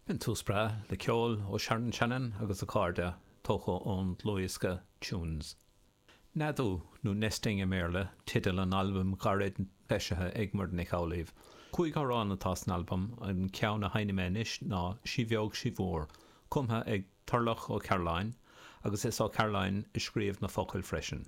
B'in tús breá le ceol ó Sharon Shannon agus a cairde, tógtha ón dlúthdhiosca Tunes. Neadú, nó Nesting i mBéarla, teideal an albaim ghairid eisithe ag Muireann Nic Amhlaoibh. 5 amhrán atá san albam, an ceann a sheinnfidh mé anois ná Sí Bheag Sí Mhór, cumtha ag Turlough Ó Cairealláin, agus is Ó Cairealláin a scríobh na focail freisin.